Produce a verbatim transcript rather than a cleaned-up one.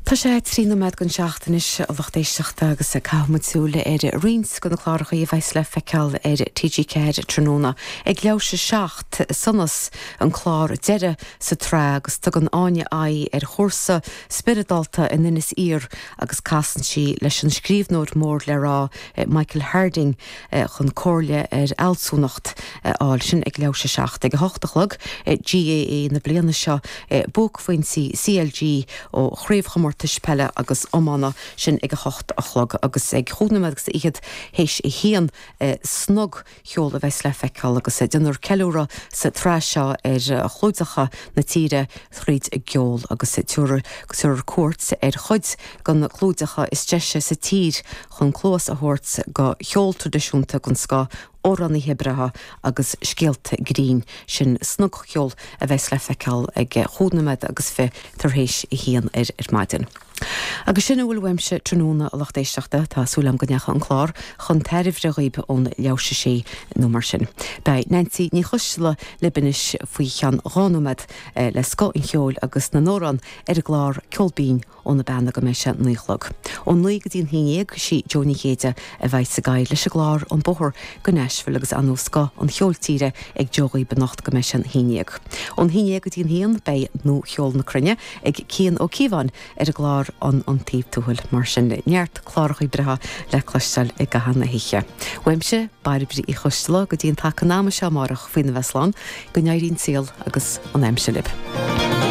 Tá sé trí nóiméad don seacht anois, a lucht éisteachta, agus caithfidh muid súil ar roinnt de na cláracha a bheas le feiceáil ar T G Ceathair tráthnóna. Ag leathuair théis a seacht, Sonas, an clár deiridh sa tsraith, agus tugann Áine aghaidh ar chúrsa spioradálta in Inis Oírr agus casann sí leis an scríbhneoir mór le rá Michael Harding chun comhairle ar fhealsúnacht a fháil. Sin ag leathuair théis a seacht. Ag a hocht a chlog, G A A na bliana seo, buaicphointí C L G ó chraobhchomórtais peile agus iomána, sin ag a hocht a chlog, agus ag chúig nóiméad agus fichead théis a haon, Snogcheol a bheas le feiceáil agus déanfar ceiliúradh sa tsraith seo ar chlúideacha na tíre thríd an gceol agus tabharfar cuairt ar chuid de na clúideacha is deise sa tír chun cluas a thabhairt do cheol traidisiúnta den scoth, amhránaithe breátha agus scéalta grinn. Sin Snogcheol a bheas le feiceáil ag chúig nóiméad agus fiche tar éis a haon ar ar maidin. Agus sin a bhfuil uaimse tráthnóna, a lucht éisteachta. Tá súil agam go ndeachaigh an clár chun tairbhe dhaoibh ón leathuair théis a sé nó mar sin. Beidh Nancy Ní Choisteala libh anois faoi cheann dhá nóiméad le scoth an cheoil agus na n-amhrán ar an gclár Ceol Binn ó na Beanna go mbeidh sé naoi a chlog. Ó naoi go dtí an haon déag, sí Joe Ní Chéide a bheidh sa gcathaoir leis an gclár An Bóthar go Nashville agus an scoth an cheoil tíre ag Joe dhaoibh anocht go mbeidh sé an haon déag. Ón haon déag go dtí an haon beidh Nuacheol na Cruinne ag Cian Ó Cíobháin ar an gclár an Iontaoibh Tuathail. Mar sin, neart cláracha breátha le cloisteáil i gcaitheamh na hoíche. Uaimse, Bairbre Uí Choisteala, go dtí an taca an ama seo amárach faoina bheith slán, go n-éirí an saol agus an aimsir libh.